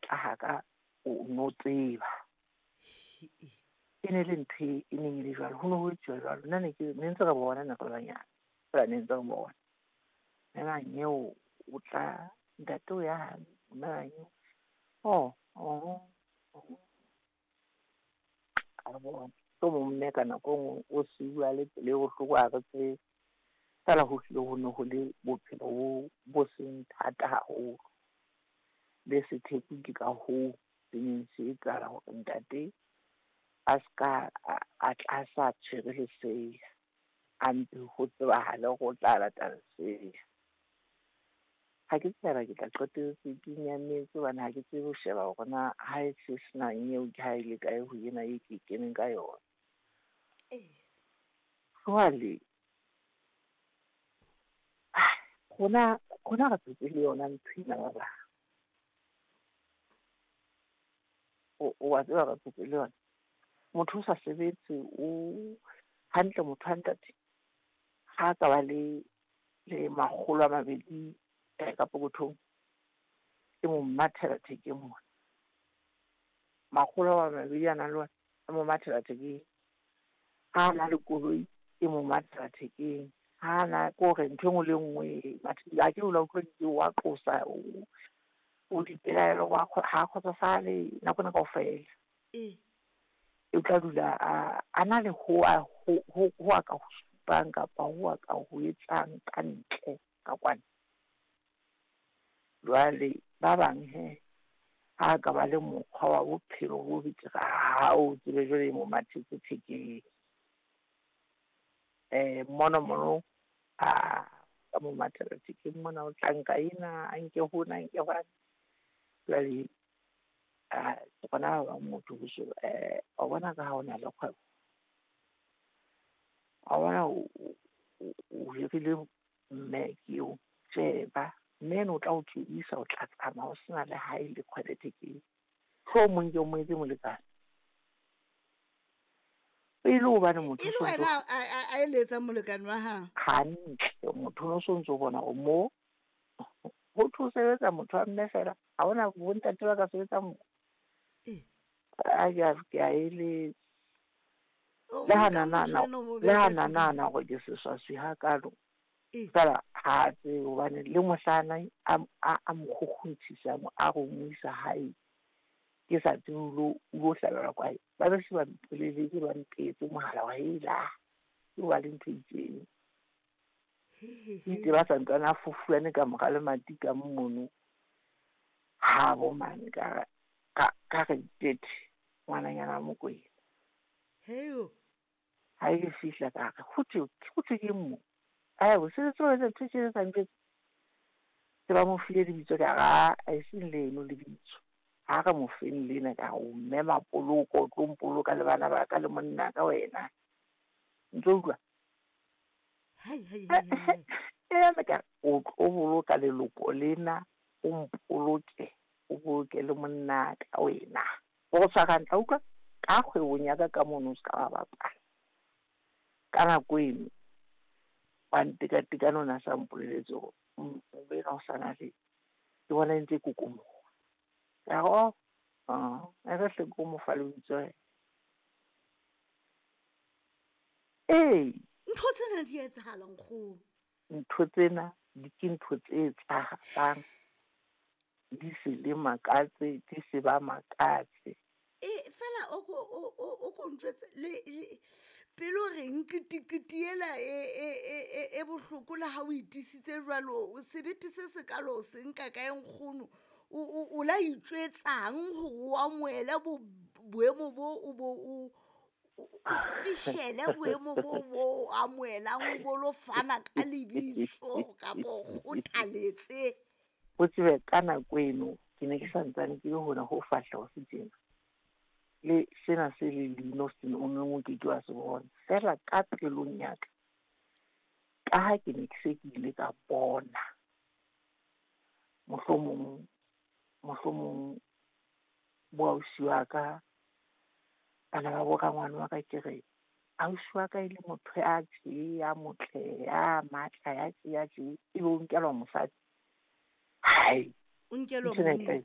tla haka o no tseba. E ne le ntho e neng e le jwalo, ho ne ho etsuwa jwalo. Nna ne ke ne ntse re bona ne re le banyane, feela ne ntse re bona. Mme Manyeo o tla, ntate o ya mme Manyeo, oh, oh, oh. A bona. Mohlomong mme ka nako e nngwe o siuwa le pelo e bohloko ha re tsebe. Feela ho hlile ho ne ho le bophelo bo bo seng thata haholo. Le sethepu ke ka hoo se neng se etsahala hore ntate a ska a tla sa tshwere lesea, a mpe ho tsebahale hore o tla lata lesea. Ha ke tsebe haeba ke tla qetelletse ke nyametse hobane ha ke tsebe ho sheba hore na ha e se sena nyeo ke ha e le kae ho ena e ke keneng ka yona. Jwale rona rona re phetse le yona ntho ena ba bang. O wa tseba re phetse le yona. Motho o sa sebetse o hantle motho wa ntate ha ka ba le le 200 ka pokothong, e mo mathela thekeng mona. 200 a nang le ona e mo mathela thekeng. Ha a na le koloi e mo mathela thekeng. Ha na ke hore ntho e nngwe le nngwe ha ke o la utlwa di wa qosa o o dipelaelo wa ha kgotsofale nako ena kaofela. E tla dula a na le ho a ho ho a ka ho supang kapa ho a ka ho etsang ka ntle ka kwana. Jwale ba bang he ha ka ba le mokgwa wa bophelo bo betere, ha o tsebe jwale e mo mathetse thekeng. Mono mono a ka mo mathela thekeng mona, o tla nka ena, a nke hona, a nke hwane. Jwale ke bona ba bang motho wa bona ka ha o na le kgwebo, wa bona o hirile mme ke eo, sheba mme eno o tla o tsebisa, o tla tsamaya o sena le ha e le kgwele thekeng. Mohlomong ke o mo etse molekane. E le hobane motho e le wena a eletsang molekane wa hao hantle, motho o no ntso bona hore mo ho thwe sebetsa motho wa mme fela, ha hona bontate ba ka sebetsang mo. A ke a eletsa. Le ha na nahana hore ke seswaswi hakalo, feela ha tsebe hobane le mohlana a mo kgukgunthisa a re o mo isa hae, ke sa tsebe o lo hlabelwa kae. Ba be se ba mpoleletse, ba mpehetse mohala wa hela ke ba le ntho e itseng. Itse ba sa ntsane a fofuane ka mora lemati ka mono ha bo mane ka ka re tethe ngwananyana Mokwena. Heyo. Ha e fihla ka re ho thwe ke mo. Ai o se tso etsa ntho tse sa ntse. Se ba mo file lebitso ka ra a e seng leno lebitso. Ha re mo feng lena ka o mme mapoloko o tlo mpoloka le bana ba ka le monna ka wena. Ntso utlwa. Hai hai hai. E ka o tlo boloka leloko lena, o mpoloke, o boloke le monna ka wena. O tshwara hantle utlwa ka kgwebong ya ka ka mono o ska ba bapala. Ka nako eno wa ntekatekano o na sa mpoleletse hore ena o sana le ke bona e ntse e kokomoha. Ka re oh, e re hle ko mo fa lebitso. Ee. Ntho tsena di etsahala nkgono. Ntho tsena di ke ntho tse etsahalang. Di se le makatse, di se ba makatse. E fela o ko ntjwetse le pelo reng ketekete ela e bohloko le ha o itisitse jwalo, sebete se sekalo o se nka kae nkgono? O la itjwetsang hore o amohele boemo bo o bo o fihlele boemo bo bo amohelang, o bo lo fana ka lebitso kapa o kgothaletse. O tsebe ka nako eno ke ne ke santsane ke le hona ho fahleho se tjena. Le sena se le leino se o neng o ke ke wa se bona. Feela ka pelong ya ka, ka ha ke ne ke se ke ile ka bona mohlomong bo ausi wa ka, bana ba bo rangwane wa ka, ke re ausi wa ka e le motho ya tje, ya motle, ya matla, ya tje, ya tje, ebe o nkelwa mosadi. Hai. O nkelwa monna.